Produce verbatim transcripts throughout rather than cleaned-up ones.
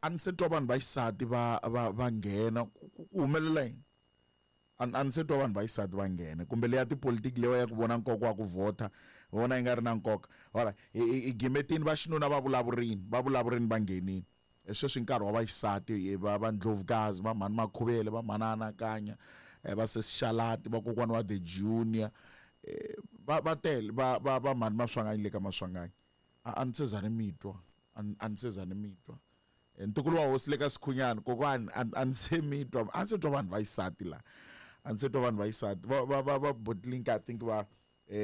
A ni se twa vanhu va xisati va va va nghena ku ku humelela yini? A ni se twa vanhu va xisati va nghena kumbe leya tipolitiki leyi ya ku vona nkoka wa ku vhota vona yi nga ri na nkoka. Alright, hi gimetini va xinuna va vulavurini va vulavurini va nghenini. Sweswi nkarhi wa va xisati va va ndlovukazi va mhani Makhuvele va mhani Anakanya va sesi Xalati va kokwana wa the junior va va tele va va va mhani Maswanganyi le ka Maswanganyi. A ni se za ni mi twa a ni se za ni mi twa. Ntukulu wa hosi le ka Sikhunyani kokwani a ni se mi twa a ni se twa vanhu va xisati la a ni se twa vanhu va xisati va va va va Botlink I think va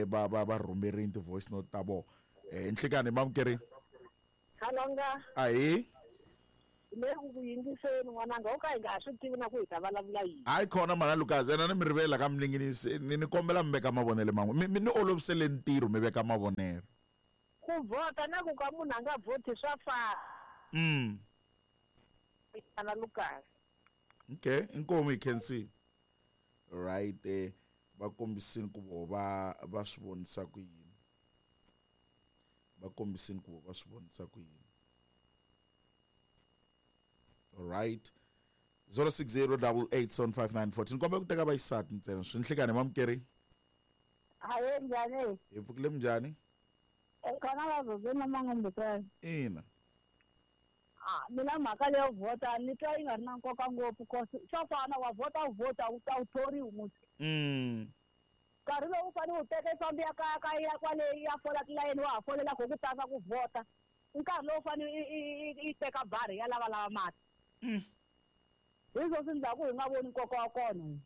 va va va rhumerini ti-voice note ta vona. Nhlikani mamukerini. Khalanga. Ahee. Le ku ku yingiseni n'wananga o ka hi nga ha swi tivi na ku hi ta vulavula yini. Hayi khona mhana Lucas ena ni mi rivela ka mininginisi ni ni kombela mi veka mavonelo man'we mi ni olovisele ntirho mi veka mavonelo. Ku vhota na ku ka munhu a nga vhoti swa fana. Mm. Ana Lucas. Okay, inkomu hi khensi. Right eh va kombisini ku vo va va swi vonisa ku yini. Va kombisini ku vo va swi vonisa ku yini. All right. zero six zero eight eight seven five nine four. Nkombe ku teka va xisati ntsena. Swi nhlikani mamukeri. Hayi njhani? Hi pfukile minjhani? Khona va zozeni Mangombekela. Ina. Ah, mina mhaka leyo vhota ni twa yi nga ri na nkoka ngopfu cause swa fana wa vhota u vhota u ta u thoriwi musi. Mm. Nkarhi lowu u fanele u teka i fambi ya kaya ka ya kwale ya fola tilayeni wa ha folela ku ku tasa ku vhota. Nkarhi lowu u fanele i i teka bari ya lava lava mati. Mm. Hi swo swi endlaku hi nga voni nkoka wa kona.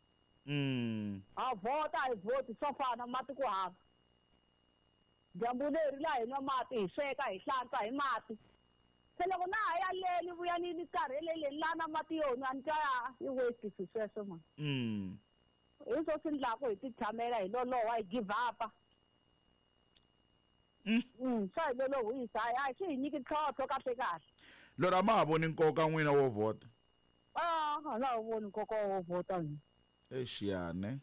Mm. Ha vhota a hi vhoti swo fana mati ku hava. Dyambu leri laha hi nwa mati hi sweka hi hlantswa hi mati. Se loko na ha ya le ni vuya ni ni karheleleni laha na mati yo nwa ni twa i waste swi sweswo man. Mm. Hi swo swi endlaku hi ti tshamela hi loloha hi give up. Mm. Mm, swa hi lolohisa a swi hi nyiki ntlhontlho kahle kahle. Lero a ma ha voni nkoka n'wina wo vhota? Ah, a na ha voni nkoka wo vhota mina. Exiyane.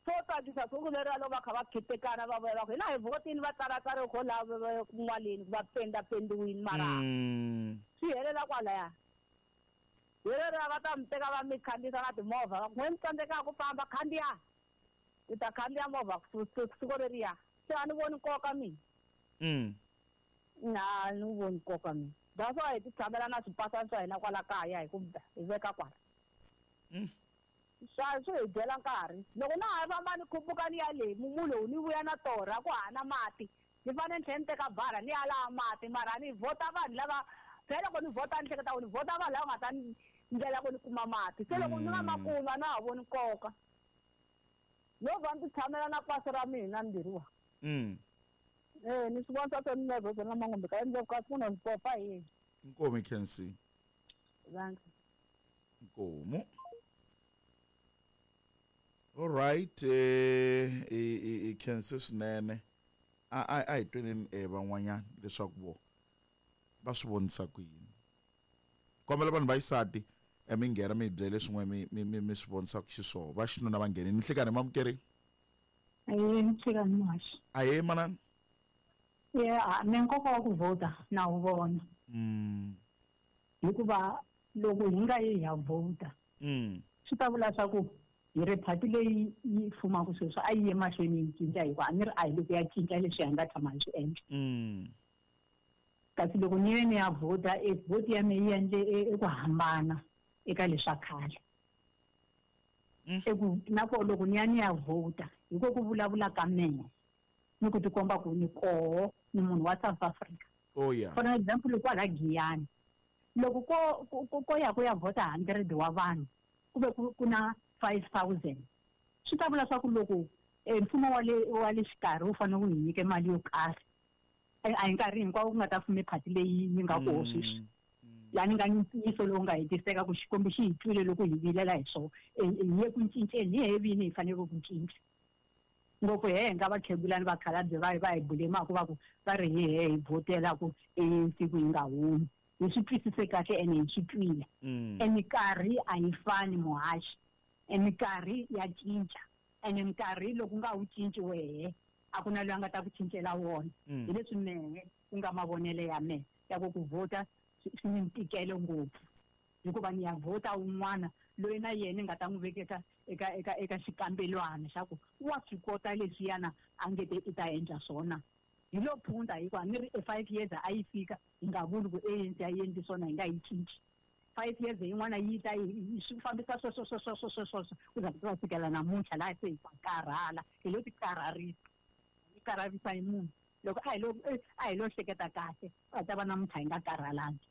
Swo tsakisa siku leriya loko va kha va khitikana va vuya va ku hina hi vhotini va tsalatsale kho laha kun'waleni va pendapendiwini mara swi helela kwalaya. Hi leriya va ta mi teka va mi khandziyisa na timovha va ku n'we mi tsandzekaka ku famba khandziya mi ta khandziya movha siku leriya se a ni voni nkoka mina. Mm. Na ni voni nkoka mina. That's why hi ti tshamela na swipasana swa hina kwala kaya hi ku hi veka kwala. Mm. Swa swi hi dyela nkarhi loko na ha famba ni khuphuka ni ya le mumu lowu ni vuya na torha ku hana mati ni fanele ni tlhela ni teka bara ni ya laha mati mara ni vhota vanhu lava phela loko ni vhota ni hleketa ku ni vhota vanhu lava nga ta ni ndlela ku ni kuma mati se loko ni nga ma kuma na ha voni nkoka no va ni ti tshamela na pasi ra mina mbirhi wa. Mm. Eh ni swi vona swa ni nervous na Mangombe ka endla ku munhu ndzi popa hi yini. Inkomu hi khensi. Thanks. Inkomu. All right, eh i khensi swinene. A a a hi tweneni eh van'wanyana leswaku vo va swi vonisa ku yini. Kombela vanhu va xisati mi nghena mi hi byele swin'we mi mi mi swi vonisaka xiswona. Va xinuna va nghenini. Nhlikani mamukeri. Ahee, nhlikani muhaxi. Ahee manana. Yeah, mina nkoka wa ku vhota na wu vona. Mm. Hikuva loko hi nga yi hi ya vhota. Mm. Swi ta vula swa ku hi ri phati leyi yi fumaka sweswi a yi ye mahlweni yi cinca hikuva a ni ri a hi le ku ya cinca leswi hi nga tshama hi swi endla. Mm. Kasi loko ni ye ni ya vhota e vhoti ya mina yi endle eku hambana eka leswa khale. Mm. Eku na koho loko ni ya ni ya vhota hi ko ku vulavula ka mina ni ku tikomba ku ni koho ni munhu wa South Africa. Oh yeah. For example kwala Giyani loko ko ko ko ya ku ya vhota hundred wa vanhu kuve ku na five thousand swi ta vula swa ku loko mfumo wa le wa le xikarhi wu fanele wu hi nyike mali yo karhi a hi nkarhi hinkwawo ku nga ta fume phati leyi yi nga koho sweswi laha ni nga ni ntiyiso lowu nga hetiseka ku Xikwembu xi hi twile loko hi vilela hi swona hi ye ku cinceni hi he vini hi fanele ku cinca ngopfu he nga vakhegulani vakhalabye va va hi bulemaka va ku va ri hi he hi vhotela ku A N C ku yi nga humi hi swi twisise kahle ene hi swi twile. E minkarhi a yi fani muhaxi e minkarhi ya cinca ene minkarhi loko nga wu cinci wehe a ku na loyi a nga ta ku cincela wona. Hi leswi mehe ku nga mavonelo ya mehe ya ku ku vhota swi ni ntikelo ngopfu. Hikuva ni ya vhota un'wana loyi na yena ni nga ta n'wi vekeka eka eka eka xikambelwana xa ku wa swi kota leswiyana a nge te i ta endla swona. Hi lo phunta hikuva ni ri e five years a yi fika hi nga vuli ku A N C a yi endli swona hi nga yi cinci. Five years yin'wana yi ta yi swi fambisa sweswo sweswo sweswo sweswo ku za ku ta fikela namuntlha laha se hi ta karhala hi lo ti karharisa hi karharisa hi munhu loko a hi lo a hi lo hleketa kahle a ta va namuntlha hi nga karhalangi.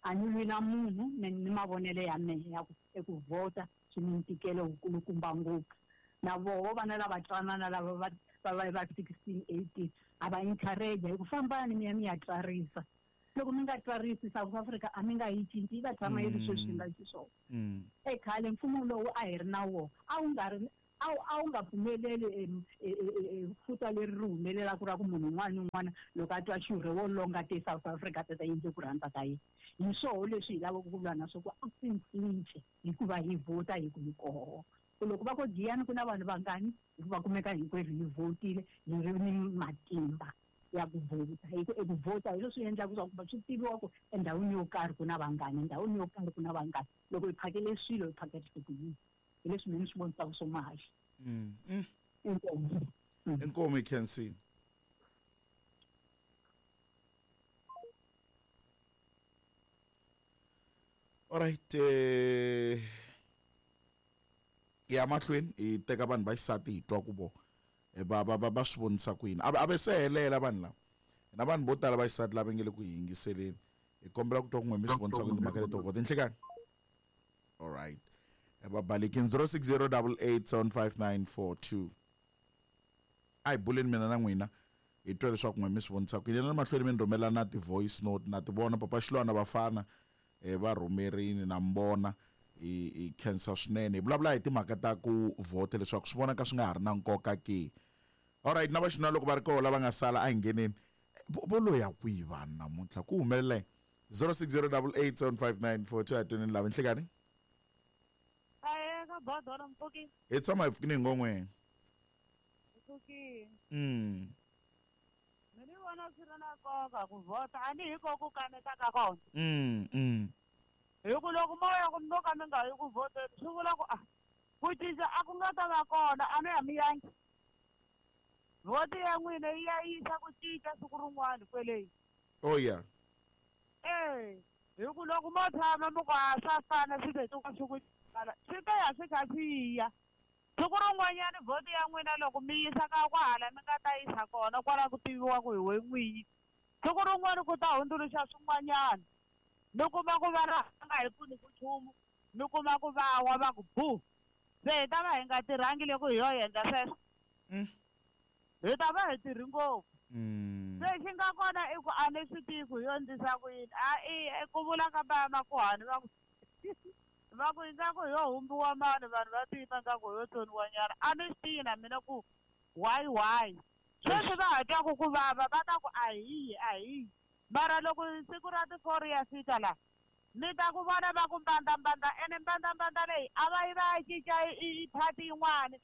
A ni lwi na munhu ni ni mavonelo ya mehe ya ku eku vhota swi ni ntikelo wukulukumba ngopfu na voho vana lava twanana lava va va va va sixteen eighteen a va encourage hi ku fambani mi ya mi ya tsarisa. Loko mi nga tsarisi South Africa a mi nga yi cinci yi ta tshama yi ri sweswi nga xiswona. Ekhale mfumo lowu a hi ri na wona a wu nga ri a wu a wu nga pfumeleli futa leri ri humelelaka ra ku munhu un'wana ni un'wana loko a twa xurhe wo longa te South Africa ta ta endle ku rhandza ka yena. Hi swoho leswi hi lavaka ku lwa na swo ku a swi cince hikuva hi vhota hi ku hi koho. Ku loko va ku Giyani ku na vanhu vangani hikuva kumeka hinkwerhu hi vhotile hi ri ni matimba ya ku vhota. Hi ku eku vhota hi leswi endlaka swa ku swi tiviwa ku endhawini yo karhi ku na vangani, endhawini yo karhi ku na vangani. Loko hi phakele swilo hi phakerise ku yini. Hi leswi mina ni swi vonisaka swo mahaxi. Inkomu. Inkomu Khensi. All right, eh ya mahlweni hi teka vanhu va xisati hi twa ku vo va va va va swi vonisa ku yini. A ve se helela vanhu lava. Na vanhu vo tala va xisati lava nge le ku hi yingiseleni. Hi kombela ku twa ku n'we mi swi vonisa ku timhaka leto vhota. Nhlikani. All right. Va balekini zero six zero eight eight seven five nine four two. A hi buleni mina na n'wina hi twa leswaku n'we mi swi vonisa ku yini. Na mahlweni mi ni rhumela na ti-voice note na ti vona Papa Xilwana vafana va rhumerini na mbona hi hi khensa swinene. Hi vulavula hi timhaka ta ku vhota leswaku swi vonaka swi nga ha ri na nkoka ke. All right, na vaxinuna loko va ri kona lava nga sala a hi ngheneni. Vo loya kwihi vanhu namuntlha ku humelela zero six zero eight eight seven five nine four two a tweneni lava nhlikani. Ahee ka bodola mpfuki. Hi tshama hi pfukini hi ngon'we. Mpfuki. Mm. Mina ni vona swi ri na nkoka ku vhota a ni hi ko ku kaneta ka kona. Mm mm. Hi ku loko moya ku mi ka mi nga yi ku vhoteni swi vula ku a ku cinca a ku nga ta va kona a mi ya mi yangi. Vhoti ya n'wina yi ya yisa ku cinca siku rin'wana kweleyi. Oh yeah. Eh, hi ku loko mo tshama mi ku a swa fana swi te swi ku swi ta ya swi kha swi ya. Siku rin'wanyana vhoti ya n'wina loko mi yisa ka kwahala mi nga ta yisa kona kwala ku tiviwa ku hi we n'winyi. Siku rin'wana ku ta hundzuluxa swin'wanyana. Mi kuma ku va ra nga hi pfuni ku nchumu, mi kuma ku va wa va ku bu. Se hi ta va hi nga tirhangi loko hi yo endla sweswo. Hi ta va hi tirhi ngopfu. Se xi nga kona i ku a ni swi tivi ku hi yo endlisa ku yini. A i ku vula ka va makuhani va ku va ku ingaku hi yo humbiwa mani vanhu va tiva ingaku hi yo tsoniwa nyana. A ni swi tivi na mina ku why why. Sweswi va ha twaku ku vava va ta ku a hi yi a hi yi. Mara loko siku ra ti-four ya fika la mi ta ku vona va ku mbandambanda ene mbandambanda leyi a va yi va ya cinca i party yin'wana.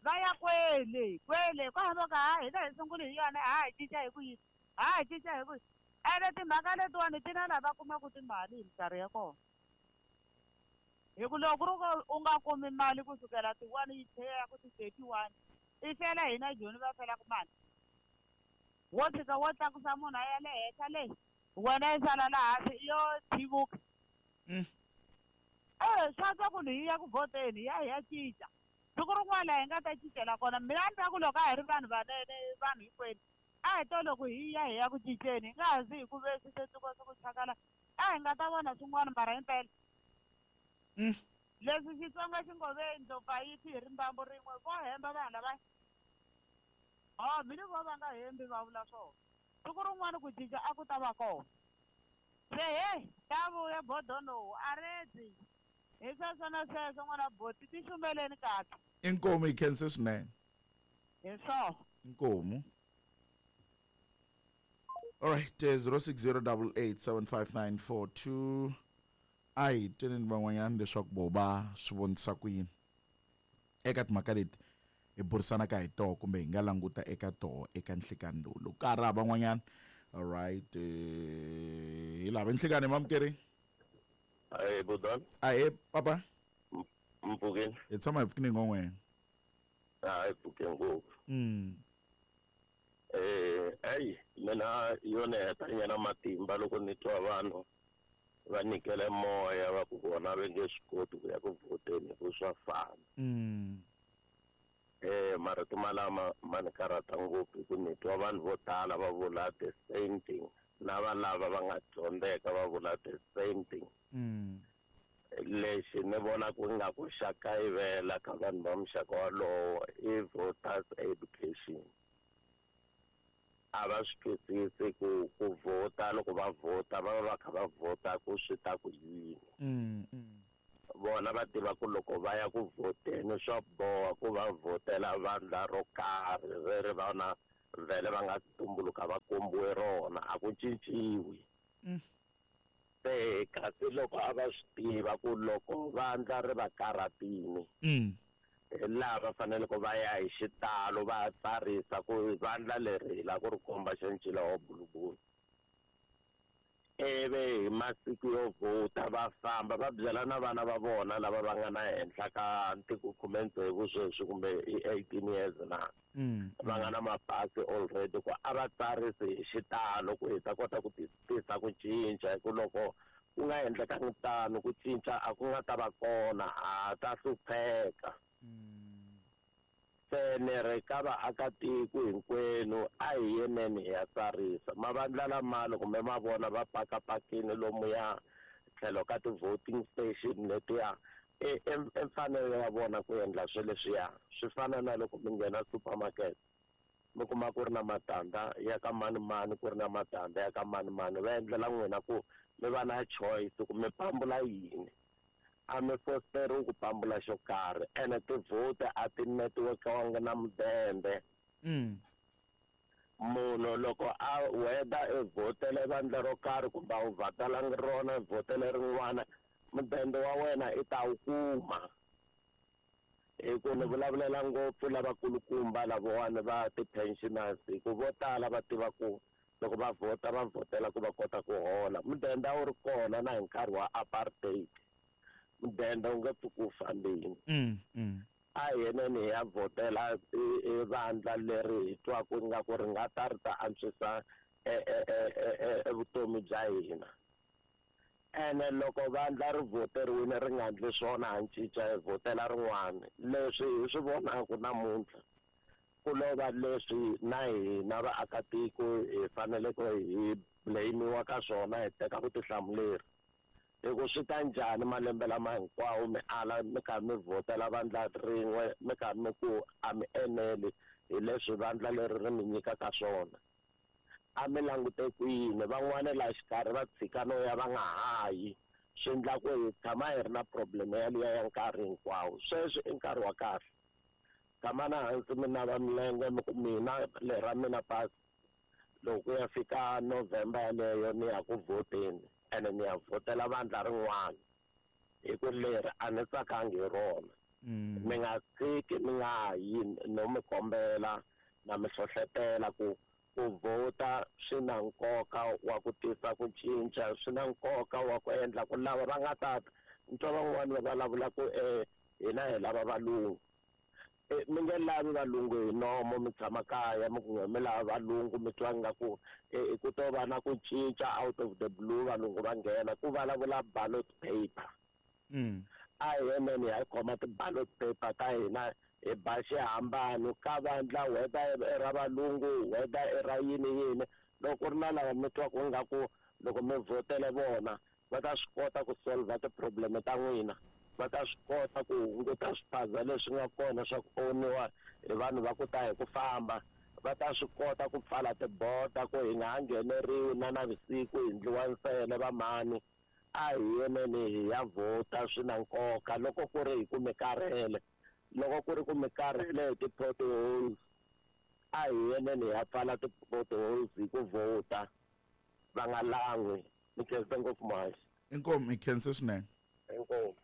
Va ya kwele kwele kwahava ka ha hina hi sungule hi yona ha hi cinca hi ku yini ha hi cinca hi ku yini. Ene timhaka letiwani ti na lava kumaka timali hi minkarhi ya kona. Hi ku loko ku ri ku u nga kumi mali kusukela ti-one yi tlhela ya ku ti-thirty-one i fela hina Joni va felaka mali. Wo tshika wo tlakusa munhu a ya le henhla le wena yi sala laha hansi yo thivuka. Eh swa twa ku hi ya ku vhoteni hi ya hi ya cinca. Siku rin'wana laha hi nga ta cincela kona mina ni ta ku loko a hi ri vanhu vanene vanhu hinkwenu a hi to loko hi ya hi ya ku cinceni hi nga ha zi hi ku ve swi tluka swi ku chakala a hi nga ta vona swin'wana mara himpela. Leswi Xitsonga xi ngo ve ndlopfu a yi fi hi rimbambu rin'we vo hemba vanhu lava. Oh mina vo va nga hembi va vula swona. Siku rin'wana ku cinca a ku ta va kona. Se he ta vuya bodono a redzi. Hi sweswo na sweswo n'wana boti ti xumeleni kahle. Inkomu hi khense swinene. Hi swona. Inkomu. All right, zero six zero eight eight seven five nine four two. A hi tweneni van'wanyana leswaku vo va swi vonisa ku yini eka timhaka leti hi burisanaka hi toho kumbe hi nga languta eka toho eka nhlikani lowu. Loko ka ha ri hava van'wanyana, all right, hi lava nhlikani mamukeri. Hey Budan. Ahe papa. Mpfukeni. Hi tshama hi pfukini ngon'wena. A hi pfuke ngopfu. Mm. Eh, ayi mina yona hetanyana matimba loko ni twa vanhu va nyikele moya va ku vona va nge swi koti ku ya ku vhoteni ku swa fana. Mm. Eh, marito malama ma ni karhata ngopfu hi ku ni twa vanhu vo tala va vula the same thing na va lava va nga dyondzeka va vula the same thing. Mm. Lexi ni vona ku nga ku xa kayivela ka vanhu va muxaka walowo i voters education. A va swi twisisi ku ku vhota loko va vhota va va va kha va vhota ku swi ta ku yini. Mm. Mm. Vona va tiva ku loko va ya ku vhoteni swa boha ku va vhotela vandla ro karhi leri vona vhele va nga tumbuluka va kombiwe rona a ku cinciwi. Mm. Se kasi loko a va swi tiva ku loko vandla ri va karhatini Mm. hi laha va fanele ku va ya hi xitalo va tsarisa ku vandla leri hi lava ku ri komba xa ncila wa bulubulu. Ivi hi masiku yo vhota va famba va byela na vana va vona lava va nga na henhla ka ntiko khume tsevu sweswi kumbe i eighteen years na Mm. va nga na mapasi already ku a va tsarisi hi xitalo ku hi ta kota ku tisa ku cinca hi ku loko ku nga endlekangi tano ku cinca a ku nga ta va kona a ta hlupheka. Mm. Se ni ri ka vaakatiko hinkwenu a hi yeneni hi ya tsarisa mavandla lama loko mi ma vona va pakapakini lomuya tlhelo ka ti-voting station letiya i i mfanelo ya vona ku endla swilo leswiya swi fana na loko mi nghena supermarket mi kuma ku ri na matandza ya ka mani mani ku ri na matandza ya ka mani mani va endlela n'wina ku mi va na choice ku mi pambula yini. A mi fosteriwi ku pambula xo karhi ene tivhoti a ti netiwekiwanga na mudende. Mm. Munhu loko a whether i vhotele vandla ro karhi kumbe a wu vhatalangi rona i vhotele rin'wana mudende wa wena i ta wu kuma. Hi ku ni vulavulela ngopfu lavakulukumba lavawani va ti-pensioners hi ku vo tala va tiva ku loko va vhota va vhotela ku va kota ku hola. Mudende a wu ri kona na hi nkarhi wa apartheid. Mudende wu nge pfuki wu fambini. Mm. Mm. A hi yeneni hi ya vhotela i vandla leri hi twaku ingaku ri nga ta ri ta antswisa e vutomi bya hina. Ene loko vandla ri vhoteriwile ri nga endli swona ha cinca hi vhotela rin'wana. Leswi hi swi vonaka namuntlha ku lova leswi na hina vaakatiko hi faneleke hi blame-iwa ka swona hi teka vutihlamuleri. Hi ku swi ta njhani malembe lama hinkwawo mi ala mi kha mi vhotela vandla rin'we mi kha mi ku a mi eneli hi leswi vandla leri ri mi nyikaka swona. A mi langute kwini van'wana laha xikarhi va tshika no ya va nga ha yi swi endla ku hi tshama hi ri na problem yaliya ya nkarhi hinkwawo. Sweswi i nkarhi wa kahle tshama na hansi mi nava milenge mi ku mina lera mina pasi loko ku ya fika November yaleyo ni ya ku vhoteni ene ni ya vhotela vandla rin'wana hi ku leri a ni tsakangi hi rona. Mi nga tshiki mi nga yi no mi kombela na mi hlohletela ku ku vhota swi na nkoka wa ku tisa ku cinca swi na nkoka wa ku endla ku lava va nga tata ni twa van'wani va vulavula ku eh hina hi lava valungu. Mi nge lavi valungu hi nomo mi tshama kaya mi ku mi lava valungu mi twa ingaku ku to va na ku cinca out of the blue valungu va nghena ku vulavula ballot paper. Mm. A hi yeneni hi khoma ti-ballot paper ta hina hi ba xihambano ka vandla whether i ra valungu whether i ra yini yini loko ku ri na lava mi twaku ingaku loko mi vhotele vona va ta swi kota ku solve ti-problem ta n'wina va ta swi kota ku hunguta swiphaza leswi nga kona swa ku oniwa hi vanhu va ku ta hi ku famba va ta swi kota ku pfala tiboda ku hi nga ha ngheneriwi na navusiku hi ndliwa nsele va mani. A hi yeneni hi ya vhota swi na nkoka loko ku ri hi ku mi karhele loko ku ri ku mi karhele hi ti-potholes a hi yeneni hi ya pfala ti-potholes hi ku vhota va nga lan'wi. Mi khensa ngopfu muhaxi. Inkomu, mi khense swinene. Inkomu.